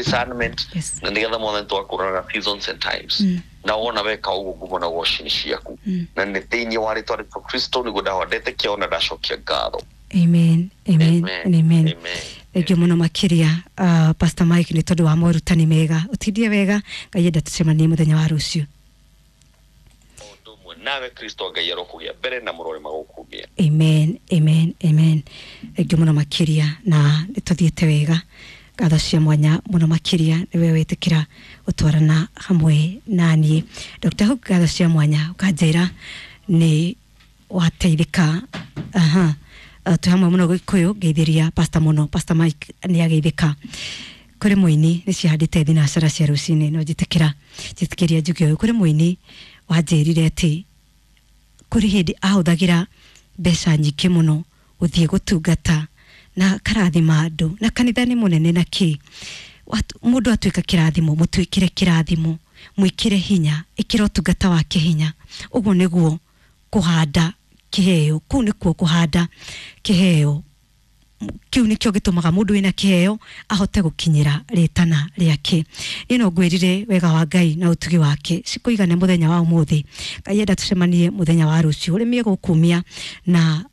Discernment. Yes. Na nĩgetha mwathani twakũraga seasons and times. Na wona weka ũguo, ngumo na ũgoci nĩ ciaku, na nĩ thĩinĩ wa rĩtwa rĩa Kristo nĩguo ndahodete ona ndacokia ngatho. Amen, amen. Amen. And amen. Amen. Thengiå må no makä Pastor Mike nä tondå wa morutani mega. Å tindie wega, Ngai enda tũcemanie mũthenya wa rũciũ. Ũndũ ũmwe nawe, Kristo Ngai arokũgĩa mbere na mũrore magũkumia. Amen, amen, amen. Thengiå må no makä na nä tå thiä te wega. Ngatho cia mwanya mũno makĩria nĩwe wĩtĩkĩra gũtwarana hamwe na niĩ. Dr. Hook, ngatho cia mwanya, ũkanjĩra nĩ wateithĩka. Aha. Twĩ hamwe mũno Gĩkũyũ, ngeithĩria pastor mũno. Pastor Mike nĩ ageithĩka. Kũrĩ mũini nĩ cihandĩte thinacara cia rũcinĩ, no njĩtĩkĩra njĩtĩkĩria njuge ũyũ. Kũrĩ mũini wanjĩrire atĩ kũrĩ hĩndĩ ahũthagĩra mbeca nyingĩ mũno gũthiĩ gũtungata na karathima andũ na kanitha nĩ mũnene na kĩ. Mũndũ atuĩka kĩrathimo, mũtuĩkĩre kĩrathimo, mwĩkĩre hinya, ĩkĩra ũtungata wake hinya. Ũguo nĩguo kũhanda kĩheo, kũu nĩkuo kũhanda kĩheo. Kĩu nĩkĩo gĩtũmaga mũndũ wĩna kĩheo ahote gũkinyĩra rĩtana rĩake. Niĩ no ngwĩrire wega wa Ngai na ũtugi wake cikũigane mũthenya wa ũmũthĩ. Ngai enda tũcemanie mũthenya wa rũciũ. Ũrĩmie gũkumia na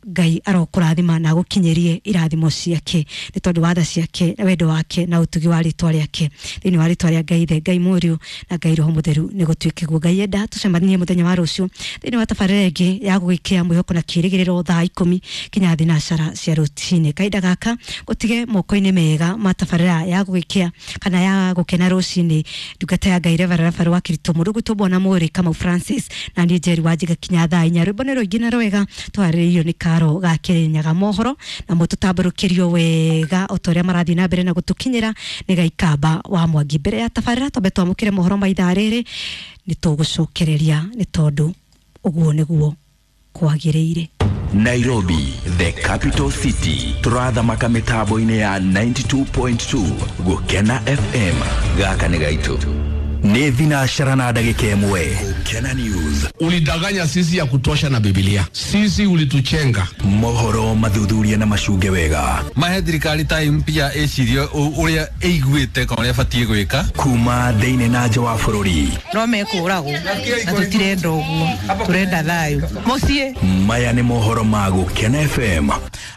Ngai arokũrathima na agũkinyĩrie irathimo ciake nĩ tondũ wa tha ciake na wendo wake na ũtugi wa rĩtwa rĩake. Thĩinĩ wa rĩtwa rĩa Ngai Ithe, Ngai Mũriũ na Ngai Roho Mũtheru, nĩ gũtuĩke guo. Ngai enda tũcemanie mũthenya wa rũciũ thĩinĩ wa tabarĩra ĩngĩ ya gũgĩkĩa mwĩhoko na kĩĩrĩgĩrĩro, thaa 10 kinya thinacara cia rũcinĩ. Kahinda gaka gũtige moko-inĩ mega ma tabarĩra ya gũgĩkĩa kana ya gũkena rũcinĩ, ndungata ya Ngai Reverend Rafael wa Kirito mũndũ gwitũ Bwana Mũrĩ Kamau Francis na niĩ Njeri wa Njiga kinya thaa 4. Rwĩmbo nĩ rũingĩ na rwega twarĩrĩirio nĩ Karo ga Kĩrĩnyaga. Mohoro namo tũtambũrũkĩrio wega o ta ũrĩa marathiĩ na mbere na gũtũkinyĩra nĩ Gaikamba wa Mwangi. Mbere ya tabarĩra twambe twamũkĩre mohoro ma ithaa rĩrĩ, nĩ tũgũcokereria nĩ tondũ ũguo nĩguo kwagĩrĩire. Nairobi, the capital city, turathamaka mitambo-inĩ ya 92.2 Gukena FM. Gaka nĩ gaitũ. Nĩ thinacara na ndagĩka 1. Gukena News. Ulidanganya sisi ya kutosha na Biblia. Sisi ulituchenga. Mohoro mathuthuria na macunge wega. Mahe thirikari time pia ĩcirie ũrĩa ĩiguĩte kana ũrĩa ĩbatiĩ gwĩka. Kuma thĩinĩ na nja wa bũrũri. No mekũragwo na tũtirenda ũguo, tũrenda thayũ mũciĩ. Maya nĩ mohoro ma Gukena FM.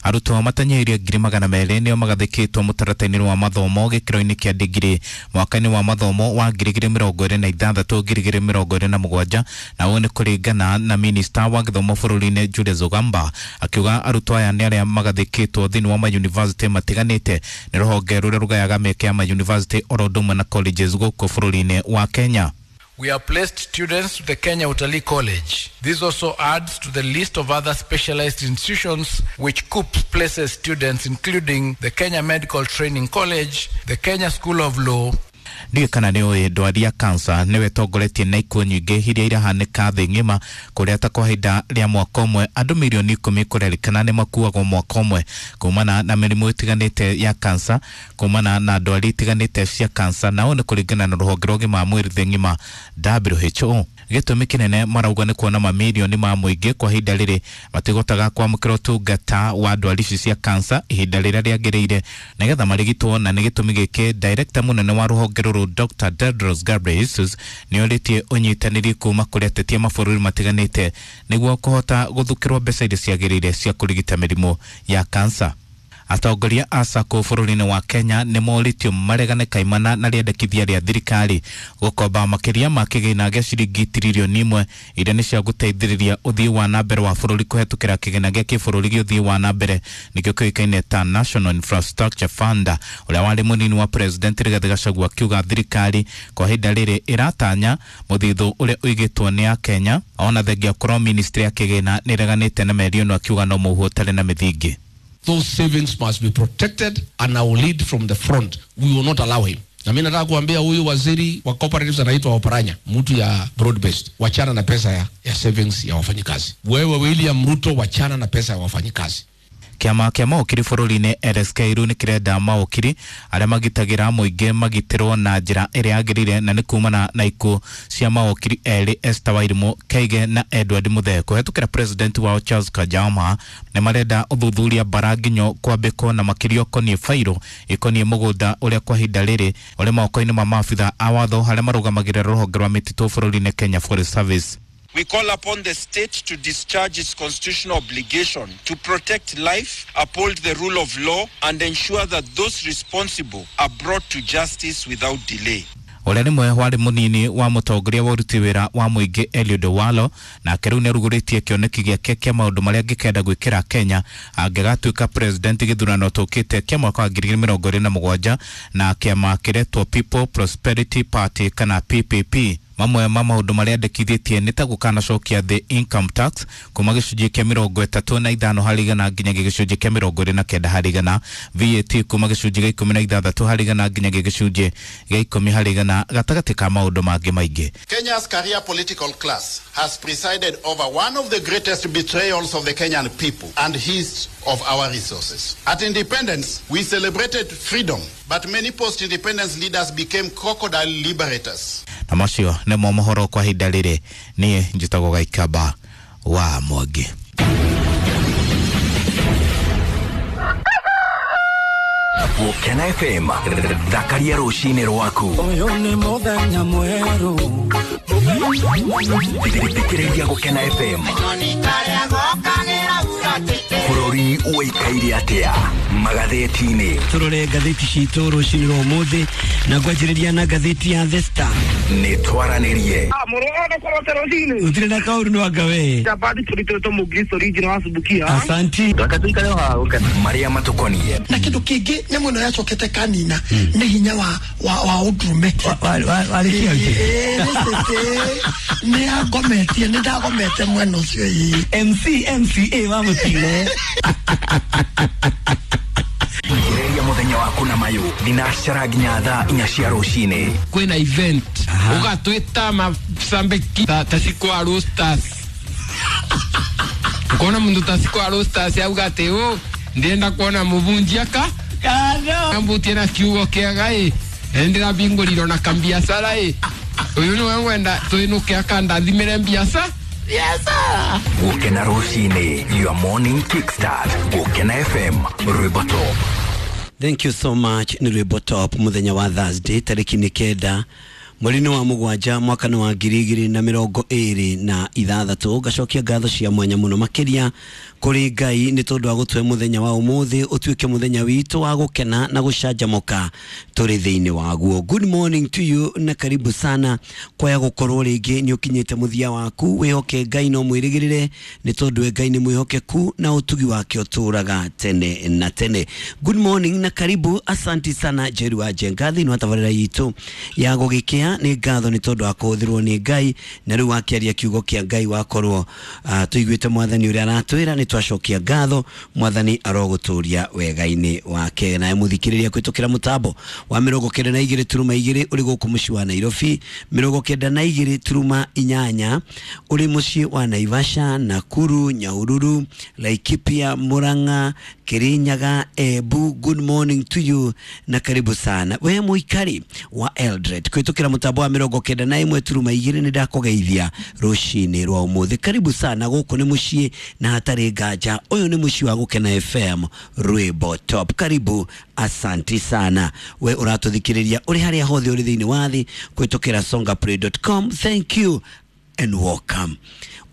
Arutwo matanyihĩirie 200,000 nĩo magathĩkĩtwo mũtaratara-inĩ wa mathomo gĩkĩro-inĩ kĩa ndigiri mwaka-inĩ wa mathomo wa 2026 2027, na ũũ nĩ kũringana na minista wa gĩthomo bũrũri-inĩ Julius Ogamba, akiuga arutwo aya nĩ arĩa magathĩkĩtwo thĩinĩ wa mayunivasĩtĩ matiganĩte nĩ rũhonge rũrĩa rũgayaga mĩeke ya mayunivasĩtĩ oro ũndũ ũmwe na colleges gũkũ bũrũri-inĩ wa Kenya. We have placed students to the Kenya Utalii College. This also adds to the list of other specialized institutions which KUCCPS places students, including the Kenya Medical Training College, the Kenya School of Law, Ndiũĩ kana nĩ ũĩ ndwari ya kansa nĩwe ĩtongoretie na ikuũ nyingĩ iria irahanĩka thĩ ng'ima, kũrĩa ta kwa ihinda rĩa mwaka ũmwe andũ mirioni 10 kũrerĩkana nĩ makuagwo mwaka ũmwe kumana na mĩrimũ ĩtiganĩte ya kansa, kumana na ndwari itiganĩte cia kansa, na ũũ nĩ kũringana na rũhonge rwa ũgima wa mwĩrĩ thĩ ng'ima WHO. Gĩtũmi kĩnene marauga nĩ kuona mamirioni ma mũingĩ kwa ihinda rĩrĩ matigotaga kwamũkĩra ũtungata wa ndwari ici cia kansa ihinda rĩrĩa rĩagĩrĩire nĩgetha marigitwo. Na nĩ gĩtũmi gĩkĩ director mũnene wa rũhonge rũrũ Dr. Tedros Ghebreyesus nĩ orĩtie ũnyitanĩri kuma kũrĩ ateti a mabũrũri matiganĩte nĩguo kũhota gũthukĩrwo mbeca iria ciagĩrĩire cia kũrigita mĩrimũ ya kansa. Atongoria a SACCO bũrũri-inĩ wa Kenya nĩ morĩtio maregane kaimana na rĩendekithia rĩa thirikari gũkomba makĩria ma kĩgĩna gĩa ciringi tiririoni 1 iria nĩ cia gũteithĩrĩria ũthii wa na mbere wa bũrũri kũhetũkĩra kĩgĩna gĩa kĩbũrũri gĩa ũthii wa na mbere, nĩkĩo kĩũĩkaine ta National Infrastructure Fund. Ũrĩa warĩ mũnini wa president Rigathĩ Gachagua akiuga thirikari kwa ihinda rĩrĩ ĩratanya mũthithũ ũrĩa ũigĩtwo nĩ akenya, ona thengia korwo ministry ya kĩgĩna nĩ ĩreganĩte na mĩario ĩno, akiuga no mũhuho ũtarĩ na mĩthingi. Those savings must be protected and I will lead from the front. We will not allow him. Na mimi nataka kuambia huyu waziri wa cooperatives anaitwa Oparanya, mtu ya broad based, wachana na pesa ya savings ya wafanyikazi. Wewe William Ruto, wachana na pesa ya wafanyikazi. Kĩama kĩa mawokiri bũrũri-inĩ LSK rĩu nĩ kĩrenda mawokiri arĩa magitagĩra mũingĩ magitĩrwo na njĩra ĩrĩa yagĩrĩire, na nĩ kumana na ikuũ cia mawokiri erĩ Esther Wairimu Kaige na Edward Muthee. Kũhetũkĩra president wao Charles Kajama, nĩ marenda ũthuthuria bara nginyo kwambĩkwo na makĩria ũkoniĩ bairũ ĩkoniĩ mũgũnda ũrĩa kwa ihinda rĩrĩ ũrĩ moko-inĩ ma maabitha a watho arĩa marũgamagĩrĩra rũhonge rwa mĩtitũ bũrũri-inĩ Kenya Forest Service. We call upon the state to discharge its constitutional obligation to protect life, uphold the rule of law, and ensure that those responsible are brought to justice without delay. Ũrĩa rĩmwe warĩ mũnini wa mũtongoria wa ũruti wĩra wa mũingĩ Eliud Owalo, nake rĩu nĩarugũrĩtie kĩoneki gĩake kĩa maũndũ marĩa angĩkenda gwĩkĩra Kenya angĩgatuĩka president gĩthurano tũkĩte kĩa mwaka wa 2027 na kĩama kĩretwo People Prosperity Party kana PPP. Mamwe ma maũndũ marĩa andĩkithĩtie nĩ ta gũkanacokia the income tax kuma gĩcunjĩ kĩa 35 harĩ igana nginyagia gĩcunjĩ kĩa 29 harĩ igana, VAT kuma gĩcunjĩ gĩa 16 harĩ igana nginyagia gĩcunjĩ gĩa 10 harĩ igana, gatagatĩ ka maũndũ mangĩ maingĩ. Kenya's career political class has presided over one of the greatest betrayals of the Kenyan people and his of our resources. At independence, we celebrated freedom, but many post-independence leaders became crocodile liberators. Na macio nĩmo mohoro kwa ihinda rĩrĩ. Niĩ njĩtagwo Gaikamba wa Mwangi. Gũkena FM, thakaria rũcinĩ rwaku. Ũyũ nĩ mũthenya mwerũ. Thikĩrĩria Gũkena FM. Bũrũri ũikaire atĩa magathĩti-inĩ? Tũrore ngathĩti citũ rũcinĩ rwa ũmũthĩ na ngwanjĩrĩria na ngathĩti ya The Star. Nĩ twaranĩrie. Gũtirĩ na kaũru no anga we. Asanti. Marĩa matũkoniĩ. Na kĩndũ kĩngĩ nyamũ ĩno yacokete kanina nĩ hinya wa ũndũrũme. Nĩ angometie, nĩ ndagomete mwena ũcio ĩĩ. MC MCA wa mũtire. Thikĩrĩria mũthenya waku na mayũ thinacara nginya thaa 4 cia rũcinĩ. Kwĩna event ũgatwĩta macambĩki ta Cikwa Roasters. Ukona mundu ta Cikwa Roasters auga atĩ ũ ndĩrenda kuona mũbunjia ka ambutie na kiugo kĩega ĩ ndĩrabingũrirwo na kambiacara ĩ ũyũ nĩwe ngwenda twĩnũke akandathimĩre mbiaca. Gũkena rũcinĩ, your morning kickstart. Gũkena FM, rwĩmbo top. Thank you so much. Nĩ rwĩmbo top mũthenya wa Thursday tarĩki nĩ 9 mweri-inĩ wa 7 mwaka nĩ wa 2026. Ngacokia ngatho cia mwanya mũno makĩria kũrĩ Ngai nĩ tondũ wa gũtũhe mũthenya wa ũmũthĩ ũtuĩke mũthenya witũ wa gũkena na gũcanjamũka tũrĩ thĩinĩ waguo. Good morning to you na karibu sana kwaya gũkorwo rĩngĩ nĩ ũkinyĩte mũthia waku. Wĩhoke Ngai no mwĩrĩgĩrĩre nĩ tondũ Ngai nĩ mwĩhokeku na ũtugi wake ũtũraga tene na tene. Good morning na karibu, asanti sana Jeru wa Njenga thĩinĩ wa tabarĩra itũ ya gũgĩkĩa. Nĩ ngatho nĩ tondũ wa kũhũthĩrwo nĩ Ngai na rĩu wakĩaria kiugo kĩa Ngai wakorwo tũiguĩte mwathani ũrĩa aratwĩra. Nĩ twacokia ngatho, mwathani arogũtũria wega-inĩ wake. Nawe mũthikĩrĩria kũhĩtũkĩra mũtambo wa 92.2 ũrĩ gũkũ mũciĩ wa Nairobi, 92.8 ũrĩ mũciĩ wa Naivasha, Nakuru, Nyahururu, Laikipia, Murang'a, Kirinyaga, Embu. Good morning to you na karibu sana we mũikari wa Eldoret kũhĩtũkĩra mũtambo wa 91.2 nĩ ndakũgeithia rũcinĩ rwa ũmũthĩ. Karibu sana, gũkũ nĩ mũciĩ na hatarĩ nganja ũyũ nĩ mũciĩ wa Gũkena FM, rwĩmbo top. Karibu, asanti sana we ũratũthikĩrĩria ũrĩ harĩa hothe ũrĩ thĩinĩ wa thĩ kũhĩtũkĩra songaplay.com. Thank you and welcome.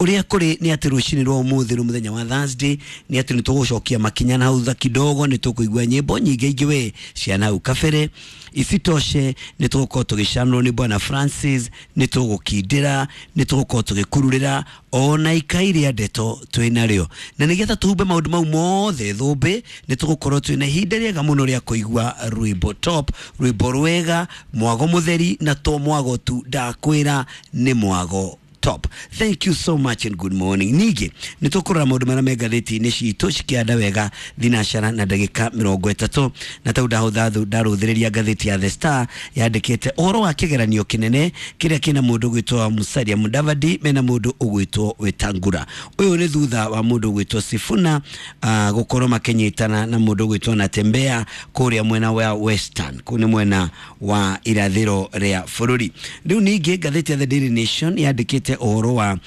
Ũrĩa kũrĩ nĩ atĩ rũcinĩ rwa ũmũthĩ rũ mũthenya wa Thursday nĩ atĩ nĩ tũgũcokia makinya na hau thutha kidogo, nĩ tũkũigua nyĩmbo nyingĩ ingĩ we cia nau kabere. Isitoshe nĩ tũgũkorwo tũgĩcanũrwo nĩ Bwana Francis, nĩ tũgũkindĩra, nĩ tũgũkorwo tũgĩkururĩra ona ikai rĩa ndeto twĩ narĩo, na nĩgetha tũhumbe maũndũ mau mothe thũmbĩ nĩ tũgũkorwo twĩna ihinda rĩega mũno rĩa kũigua rwĩmbo top, rwĩmbo rwega, mwago mũtheri, na to mwago tu, ndakwĩra nĩ mwago top. Thank you so much and good morning. Ningĩ nĩ tũkũrora maũndũ marĩa me ngathĩti-inĩ citũ cikĩanda wega thinacara na ndagĩka 30, na tau ndahũtha ndarũthĩrĩria ngathĩti ya The Star yandĩkĩte ũhoro wa kĩgeranio kĩnene kĩrĩa kĩna mũndũ ũgwĩtwo Musalia Mudavadi mena mũndũ ũgwĩtwo Wetangula. Ũyũ nĩ thutha wa mũndũ ũgwĩtwo Sifuna gũkorwo makĩnyitana na mũndũ ũgwĩtwo Natembeya kũrĩa mwena wa Western, kũu nĩ mwena wa irathĩro rĩa bũrũri. Rĩu ningĩ ngathĩti ya The Daily Nation yandĩkĩte ũhoro wa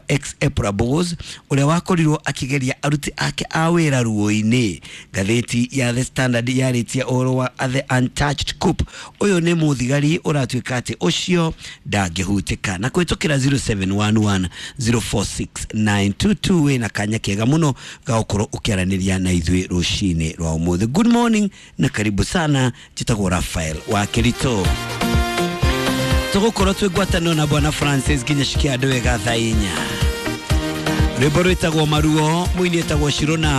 ex EPRA boss ũrĩa wakorirwo akĩgeria aruti ake a wĩra ruo-inĩ. Ngathĩti ya The Standard yarĩtie ũhoro wa The Untouched Coup. Ũyũ nĩ mũthigari ũratuĩka atĩ ũcio ndangĩhutĩka, na kũhĩtũkĩra 0711 046 922 wĩna kanya kega mũno ga gũkorwo ũkĩaranĩria na ithuĩ rũcinĩ rwa ũmũthĩ. Good morning na karibu sana. Njĩtagwo Rafael wa Kĩritũ. Tũgũkorwo twĩ ngwatanĩro na Bwana Francis nginya cikia andũ wega thaa 4. Rwĩmbo rwĩtagwo Maruo, mũini etagwo Shirona.